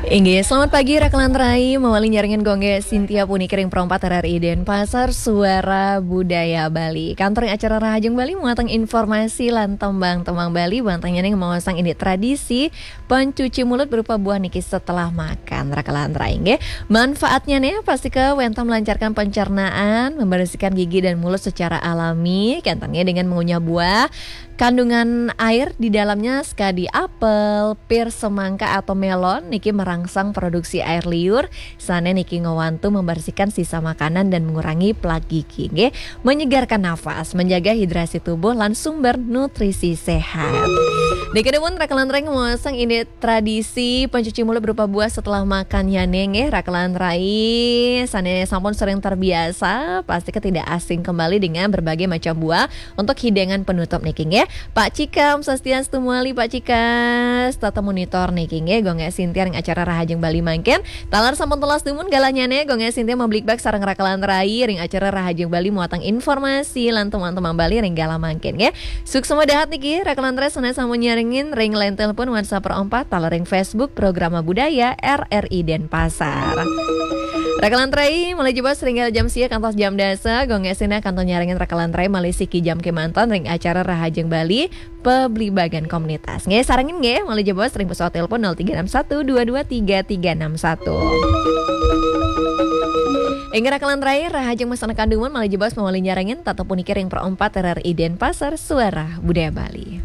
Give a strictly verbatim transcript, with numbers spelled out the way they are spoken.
Inggih, selamat pagi Raka lan Rai, mawali nyarengin Gung Gé Sintia puniki ring Pro empat R R I Denpasar, Suara Budaya Bali. Kantun ring acara Rahajeng Bali muatang informasi lan tembang-tembang Bali, bantengnyané maosang indik tradisi pencuci mulut berupa buah niki setelah makan. Raka lan Rai, nggih. Manfaatnyané pastika wénten melancarkan pencernaan, membersihkan gigi dan mulut secara alami, kénten nggih, dengan mengunyah buah kandungan air di dalamnya, sekadi apel, pir, semangka atau melon niki merangsang produksi air liur, sané niki ngwantu membersihkan sisa makanan dan mengurangi plak gigi, nggih. Menyegarkan nafas, menjaga hidrasi tubuh lan sumber nutrisi sehat. Niki dumun Raka lan Rai maosang indik tradisi pencuci mulut berupa buah setelah makan, ya, nggih, Raka lan Rai. Sané sampun sering terbiasa, pastika tidak asing kembali dengan berbagai macam buah untuk hidangan penutup niki, nggih. Pak Cikam, Sastian Stumali, Pak Cikas, tetep monitor niki, nggih, Gung Gé Sintia ring acara Rahajeng Bali mangkin. Taler sampun telas dumun galahnyané, Gung Gé Sintia mabligbagan sareng Raka lan Rai ring acara Rahajeng Bali muatang informasi lan tembang-tembang Bali ring galah mangkin, nggih. Suksma dahat niki, Raka lan Rai sané sampun nyarengin ring line telepon WhatsApp Pro empat, taler ring Facebook Programa Budaya R R I Denpasar. Raka lan Rai, malih jebos ring galah jam sia kantos jam dasa, Gung Gé Sintia kantun nyarengin Raka lan Rai malih siki jam kémanten ring acara Rahajeng Bali, pabligbagan komunitas. Nggih, sarengin nggih, malih jebos ring pesawat telepon nol tiga enam satu dua dua tiga tiga enam satu. Inggih Raka lan Rai, Rahajeng masandekan dumun malih jebos mawali nyarengin tetep puniki ring Pro empat R R I Denpasar, Suara Budaya Bali.